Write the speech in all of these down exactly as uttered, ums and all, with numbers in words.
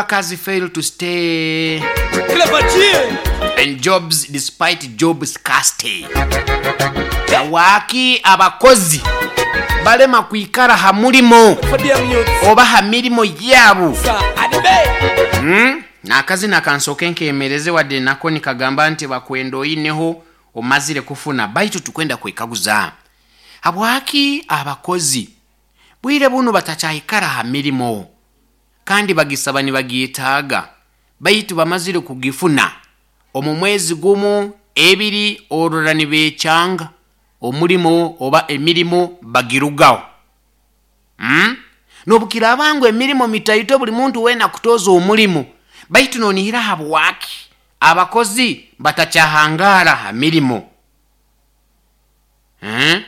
Workers fail to stay Clever G. in jobs despite job scarcity. Waaki abakozi balema kwikara ha mulimo For them youths. oba ha mirimo yaabo? Sir, Adibe. Mm? N'akazina kansooke nkemereze, wadde nako nikagamba nti bakwenda oyineho omazire kufuna, baitu tukwenda kwekaguza habwaki abakozi bwire buno batakyayikara ha mirimo kandi bagisaba nibagyetaaga, baitu bamazire kugifuna omu mwezi gumu, ebiri, orora nibekyanga omulimo oba emirimo bagirugaho mm? Nobukiraaba ngu emirimo mitaito, buli muntu wena kutoza omulimu, baitu nonihira habwaki abakozi batakyahangara ha mirimo, eh?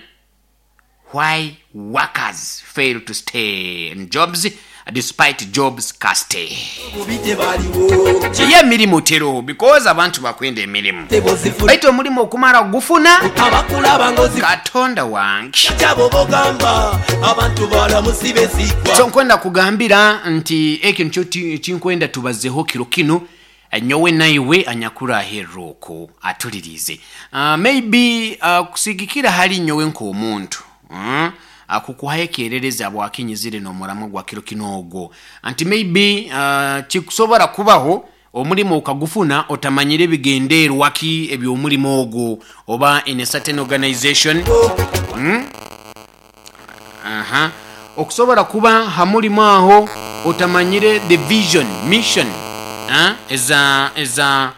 Why workers fail to stay in jobs despite job scarcity. Bubi tebaliwo. Ye emirimu teroho because abantu bakwenda emirimu, Tebozifuna. baitu omulimu okumara gufuna, Abakulaba ngozi. Katonda wange. Kyabo bogamba abantu balamusi besigwa. So nkwenda kugambira nti ekyo nikyo ti- kinkwenda tubazeho kiro kino, nyowe naiwe anyakuraherera okwo atulirize. uh, maybe uh, kusigikira hali nyowe nk'omuntu, mm? Akukuhayo ekyererezi abwakinyizire n'omuramwa gwa kiro kino ogwo nti maybe uh, kikusobora kubaho omulimu okagufuna otamanyire ebigenderwa ki eby'omulimu ogwo oba in a certain organization mm? Aha, okusobola kuba ha mulimu aho otamanyire the vision, mission, ah, eza eza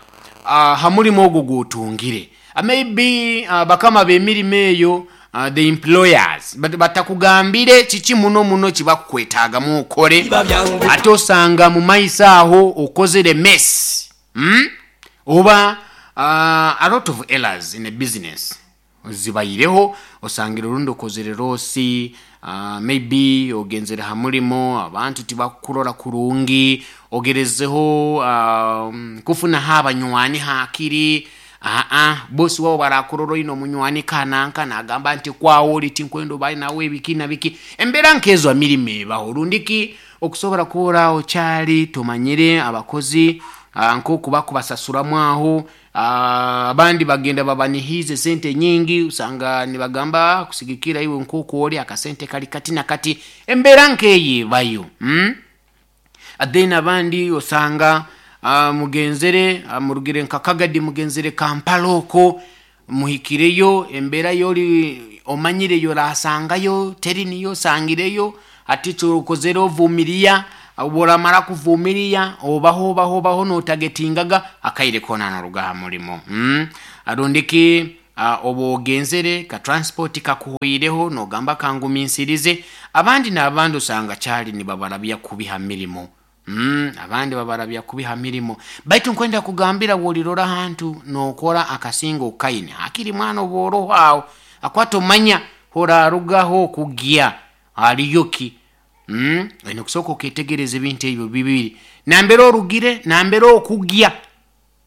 uh, ha mulimu ogwo gwotungire. uh, maybe uh, bakama b'emirimu eyo, uh, the employers, bat- batakugambire kiki muno muno kibakukwetaagamu okole. Biba byangu. Ate osanga mu maiso aho okozere mess, hmm? Oba uh, a lot of errors in a business zibaireho, osangira orundi okozere loss. uh, maybe ogenzere ha mulimo abantu tibakukurora kurungi, ogerezeho uh, kufunaho abanywani hakiri aa bosi wabo barakurora oine omunywani kananka, nagamba nti kwawo oli tinkwenda obaye nawe ebiki na biki. Embeera nkezo amirimo ebaho rundiki okusobora kuba okyali tomanyire abakozi ah, nk'oku bakubasasuramu aho. ah, abandi bagenda babanihize sente nyingi, usanga nibagamba kusigikira iwe nk'oku oli akasente kali kati na kati. Embeera nkeyo ebayo, mm? Then abandi osanga uh, mugenzere uh, murugire nka Kagadi, mugenzere Kampala oko, muhikireyo embeera yoli omanyire yorasangayo teri niyo osangireyo. Ati kyokozere ovumiria, bworamara kuvumiria obaho obaho obaho notagetingaga akaire kona noruga ha murimo, mm? Arundiki uh, oba ogenzere ka transport kakuhwireho nogamba kanguminsirize. Abandi n'abandi osanga kyali nibabarabya kubiha mirimo. Mm, abandi babarabya kubiha mirimo, baitu nkwenda kugambira wolirora hantu nokora akasinga okaine hakiri mwana obworoho aho akwata omanya horarugaho okugya haliyoki, mm? Oine kusooka oketegereza ebintu ebyo bibiri, nambere orugire, nambere okugya.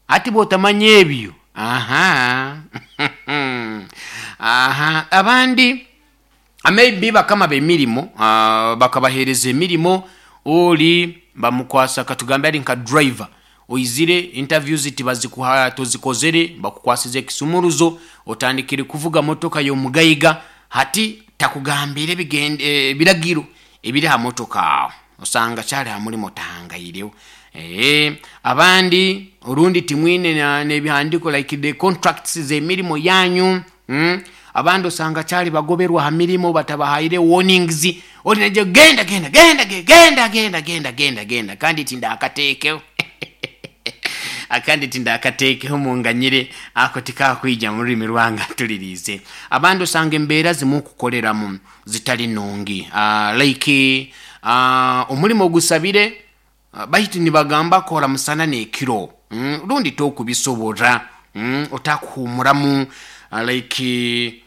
Ati bwotamanya ebyo, aha aha abandi maybe bakama b'emirimo uh, bakabahereza emirimo, oli bamukwasa katugambe ari nka driver, oizire interviews tibazikuha, tozikozere, bakukwasiza ekisumuruzo, otandikire kuvuga motoka y'omugayiga. Hati takugambire ebigende- eh, ebiragiro ebiri ha motoka aho, osanga kyali ha mulimo tahangaireho. Eh, abandi orundi timwine na- n'ebihandiko like the contracts z'emirimo yanyu, mm? Abandi osanga kyali bagoberwa ha mirimo batabahaire warnings, oli naje genda genda genda ge- genda genda genda genda genda kandi tindakateekeho akandi tindakateekeho munganyire ako tikakwija mu rurimi rwanga tulirize. Abandi osanga embeera zimukukoleramu zitali nungi, uh, like uh, omulimu ogusabire, uh, baitu nibagamba kora musana n'ekiro, mm, rundi tokubisobora, mm, otakuhumuramu, uh, like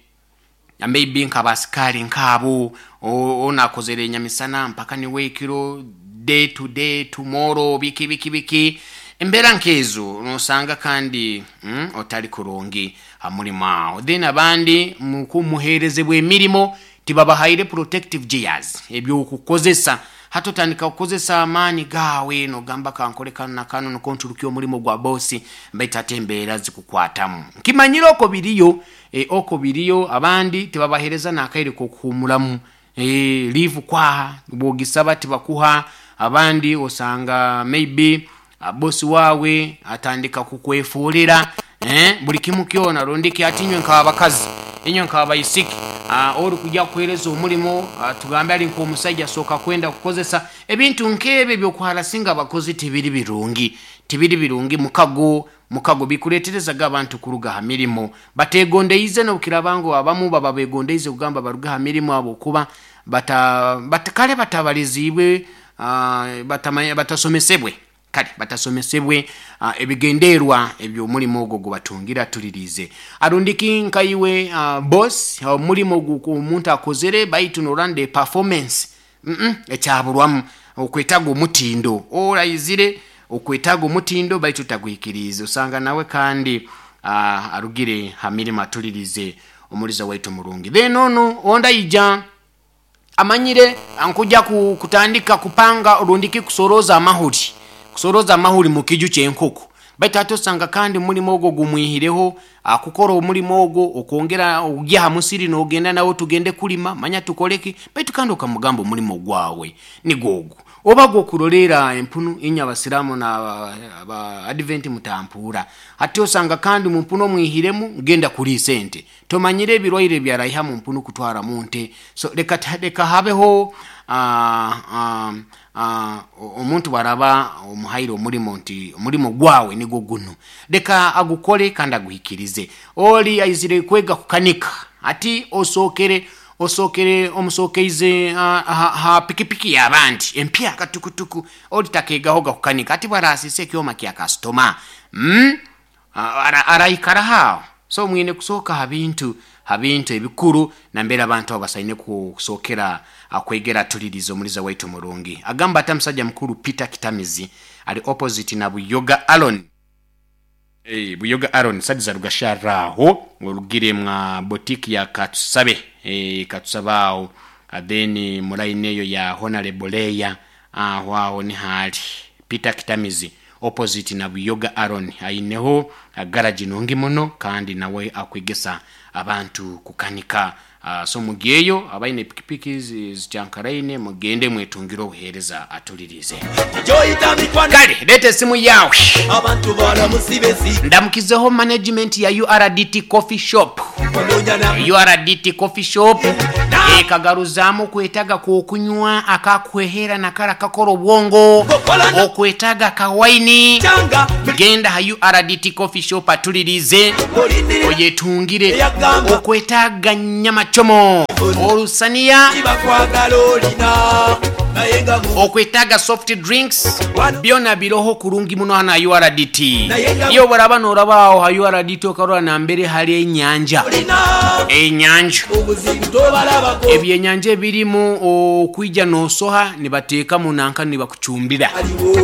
maybe nk'abasikari nk'abo o- onakozere enyamisana mpaka niwe ekiro, day to day, tomorrow, biki biki biki. Embeera nkezo nosanga kandi mm, otali kurungi hamulimo aho. Then abandi mukumuherezebwa emirimo tibabahaire protective gears ebyokukozesa. Hati otandika kukozesa amaani gaawe nogamba kankole kano na kano niko nturuke omulimu gwa bosi, baitu ate embeera zikukwatamu. Nkimanyire oko biriyo, e, oko biriyo abandi tibabahereza n'akaire k'okuhumuramu, e, leave kwaha bwogisaba tibakuha. Abandi osanga maybe ah, bosi wawe atandika kukwefuulira, eh, buli kimu kyona rundiki ati inywe nk'abakazi, inywe nk'abaisiki, ah, ori kujya kuhereza omulimu, ah, tugambe ali nk'omusajja asooka kwenda kukozesa ebintu nk'ebyo ebyokuharasinga abakozi. Tibiri birungi, tibiri birungi. Mukago mukago bikuleeterezaga abantu kuruga ha mirimo bategondeize, nobukiraba ngu abamu baba begondeize kugamba baruge ha mirimo abo kuba bata, bata, kale batabalizibwe, ah, batamanya- batasomesebwe, kale batasomesebwe uh, ebigenderwa eby'omulimu ogwo gubatungira. Tulirize arundiki nkaiwe uh, boss, omulimu ogu omuntu akozere baitu norande performance mm -mm, ekyaburwamu okwetaga omutindo, orayizire okwetaga omutindo baitu tagwikirize, osanga nawe kandi uh, arugire ha mirimu. Atulirize omuliza waitu murungi. Then ono ondayija amanyire nkuja ku- kutandika kupanga rundiki kusoroza amahuri, kusoroza amahuri mu kiju ky'enkoko, baitu ate osanga kandi omulimu ogwo gumwihireho akukora omulimu ogwo okwongera ogya ha musiri nogenda nawe tugende kulima manya tukoleki, baitu kandi okamugamba omulimu gwawe nigwo ogwo oba gwokurolera empunu. Inywe abasiramu na aba advent mutampuura. Hati osanga kandi mu mpunu omwihiremu genda kuliisa ente, tomanyire ebirwaire byaraiha mu mpunu kutwara mu nte. So leka leka habeho ah, ah, ah, omuntu bwaraba omuhaire omulimu nti omulimu gwawe nigwo guno, leka agukole kandi aguhikirize. Oli aizire kwega kukanika, ati osookere osookere omusokeize ah, ha, ha pikipiki y'abandi empya katukutuku, oli takegaho gakukanika, ati bwarasise ekyoma kya kasitoma, mm? Ara- araikara haawo. So mwine kusooka ha bintu ha bintu ebikuru nambere abantu abo basaine kusookera akwegera. Tuliriza omuliza waitu murungi agamba ati musajja mukuru Peter Kitamizi ali opposite na Buyoga Alon. Eh, Buyoga Aaron sadiza rugasharraho orugire mwa botiki ya Katusabe, eh, Katusabe awo, Ah, then mulaini eyo ya Honorable Leya, aho aho ni hali Peter Kitamizi opposite na Buyoga Aaron, aineho ah, garage nungi muno kandi nawe akwegesa abantu kukanika. uh, so mugeyo abaine pikipiki zi- zikyankaraine mugende mwetungire obuheereza. Atulirize. Gyoyita mikwano. Kale leeta esimu yawe. Abantu balamusi besi. Ndamukizeho management ya U R D T coffee shop. Ononyana. U R D T coffee shop ekagaruzaamu okwetaga kwokunywa akakwehera nakara kakora obwongo, okwetaga kawaini. Kyanga. Genda ha U R D T coffee shop, atulirize, olindirira oyetungire. Eyagamba. Okwetaga nyama chomo, olusaniya, kibakwagala olina naye nga mu okwetaga soft drinks, Wano. byona biroho kurungi muno hano ha U R D T. Naye nga- Iyo boraba noraba aho ha U R D T okarora nambere hari enyanja, olina enyanja, obuzibu tobalabako. Ebyenyanja ebirimu okwija nosoha nibateeka munanka nibakucumbira. Aliwo.